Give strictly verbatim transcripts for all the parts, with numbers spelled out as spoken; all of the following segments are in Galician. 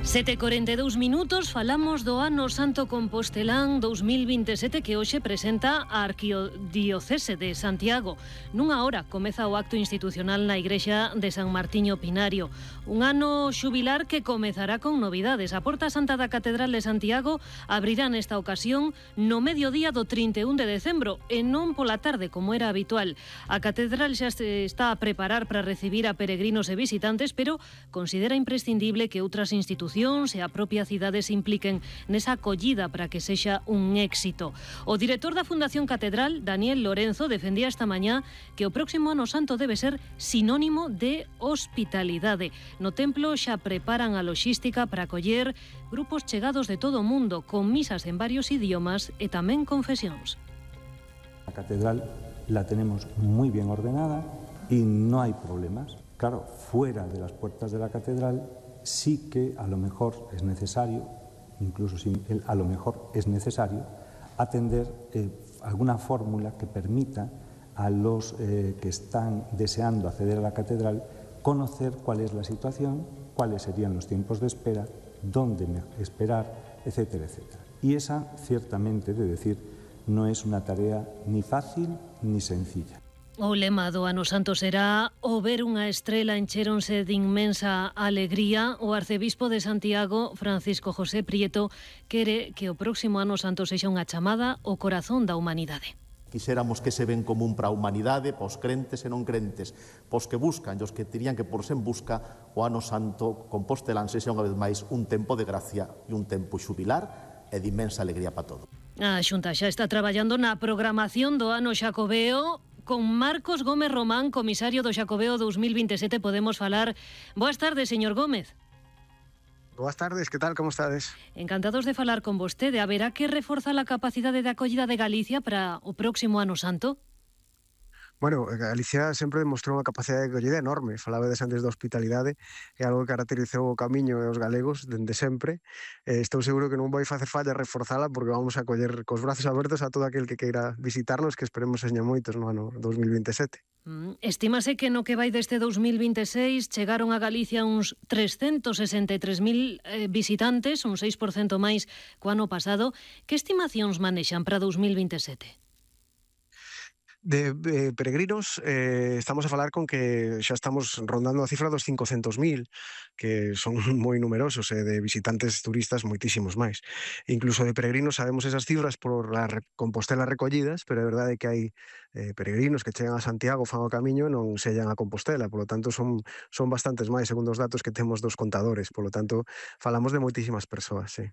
sete e corenta e dous minutos, falamos do Ano Santo Compostelán dous mil vinte e sete que hoxe presenta a Arquidiocese de Santiago. Nunha hora comeza o acto institucional na Igrexa de San Martiño Pinario. Un ano xubilar que comezará con novidades. A Porta Santa da Catedral de Santiago abrirá nesta ocasión no mediodía do trinta e un de decembro e non pola tarde como era habitual. A Catedral xa se está a preparar para recibir a peregrinos e visitantes, pero considera imprescindible que outras institucións e a propia cidade se impliquen nesa acollida para que sexa un éxito. O director da Fundación Catedral, Daniel Lorenzo, defendía esta mañá que o próximo Ano Santo debe ser sinónimo de hospitalidade. No templo xa preparan a loxística para acoller grupos chegados de todo o mundo, con misas en varios idiomas e tamén confesións. La catedral la tenemos muy bien ordenada y no hay problemas. Claro, fuera de las puertas de la catedral sí que a lo mejor es necesario, incluso sin el a lo mejor es necesario, atender eh, alguna fórmula que permita a los eh, que están deseando acceder a la catedral conocer cuál es la situación, cuáles serían los tiempos de espera, dónde esperar, etcétera, etcétera. Y esa, ciertamente, de decir, no es una tarea ni fácil ni sencilla. O lema do Ano Santo será o ver unha estrela encheronse de inmensa alegría. O arcebispo de Santiago, Francisco José Prieto, quere que o próximo Ano Santo sexa unha chamada ao corazón da humanidade. Quixéramos que se ven común para a humanidade, pos crentes e non crentes, pos que buscan e os que terían que por sen busca, o Ano Santo Compostelán sexa unha vez máis un tempo de gracia e un tempo xubilar e de inmensa alegría para todos. A Xunta xa está traballando na programación do Ano Xacobeo. Con Marcos Gómez Román, comisario do Xacobeo dous mil vinte e sete, podemos falar. Boas tardes, señor Gómez. Boas tardes, que tal, como estades? Encantados de falar con vostede. Haberá que reforzar a capacidade de acollida de Galicia para o próximo Ano Santo? Bueno, Galicia sempre demostrou unha capacidade de acollida enorme. Falabades antes da hospitalidade, é algo que caracterizou o Camiño e os galegos dende sempre. Eh, estou seguro que non vai facer falla reforzala porque vamos a acoller cos brazos abertos a todo aquel que queira visitarnos, que esperemos seña moitos no ano dous mil vinte e sete. Mm, estímase que no que vai deste dous mil vinte e seis chegaron a Galicia uns trescentos sesenta e tres mil eh, visitantes, un seis por cento máis co ano pasado. Que estimacións manexan para dous mil vinte e sete? De eh, peregrinos, eh, estamos a falar con que xa estamos rondando a cifra dos cincocentos mil, que son moi numerosos, e eh, de visitantes turistas moitísimos máis. Incluso de peregrinos sabemos esas cifras por la Compostela recollidas, pero é verdade que hai eh, peregrinos que chegan a Santiago, fan o camiño e non sellan a Compostela, polo tanto son, son bastantes máis, segundo os datos que temos dos contadores, polo tanto falamos de moitísimas persoas, sí.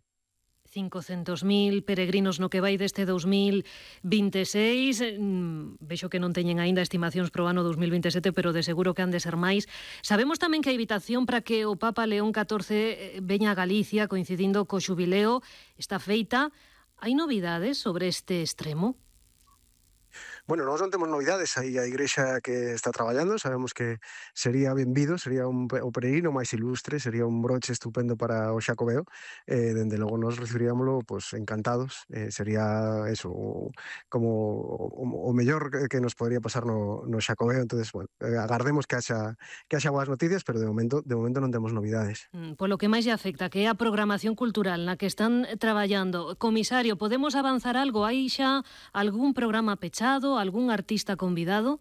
cincocentos mil peregrinos no que vai deste dous mil vinte e seis. Mm, vexo que non teñen aínda estimacións pro ano dous mil vinte e sete, pero de seguro que han de ser máis. Sabemos tamén que a invitación para que o Papa León catorce veña a Galicia coincidindo co xubileo está feita. Hai novidades sobre este extremo? Bueno, nós non temos novidades, aí a Igrexa que está traballando, sabemos que sería benvido, sería un, o peregrino máis ilustre, sería un broche estupendo para o Xacobeo, eh, dende logo nós recibiríamoslo pues, encantados, eh, sería eso, como o, o mellor que nos podría pasar no, no Xacobeo, entonces, bueno, eh, agardemos que haxa, que haxa boas noticias, pero de momento, de momento non temos novidades. Mm, polo que máis lle afecta, que é a programación cultural na que están traballando. Comisario, podemos avanzar algo? Hai xa algún programa pechado, algún artista convidado?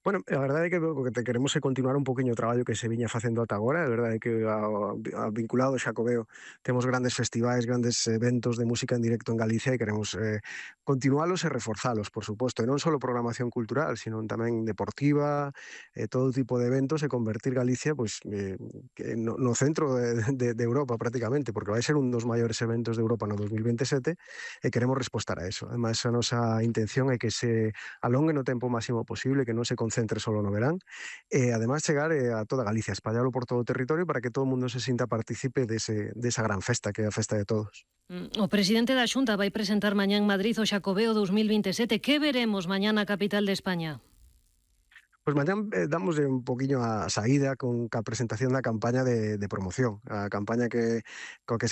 Bueno, a verdade é que o que te queremos é continuar un poquinho o traballo que se viña facendo ata agora. A verdade é que a, a, vinculado ao Xacobeo temos grandes festivais, grandes eventos de música en directo en Galicia e queremos eh, continualos e reforzalos, por suposto. E non só programación cultural, sino tamén deportiva, eh, todo tipo de eventos e convertir Galicia pues, eh, no, no centro de, de, de Europa prácticamente, porque vai ser un dos maiores eventos de Europa no dous mil vinte e sete e queremos respostar a eso. Ademais, a nosa intención é que se alongue no tempo máximo posible, que non se centre solo no verán, e además chegar eh, a toda Galicia, espallarlo por todo o territorio para que todo o mundo se sinta partícipe dese, desa gran festa que é a festa de todos. O presidente da Xunta vai presentar mañá en Madrid o Xacobeo dous mil vinte e sete. Que veremos mañá na capital de España? Pois mañá eh, damos un poquinho a saída con a presentación da campaña de, de promoción, a campaña que, co que se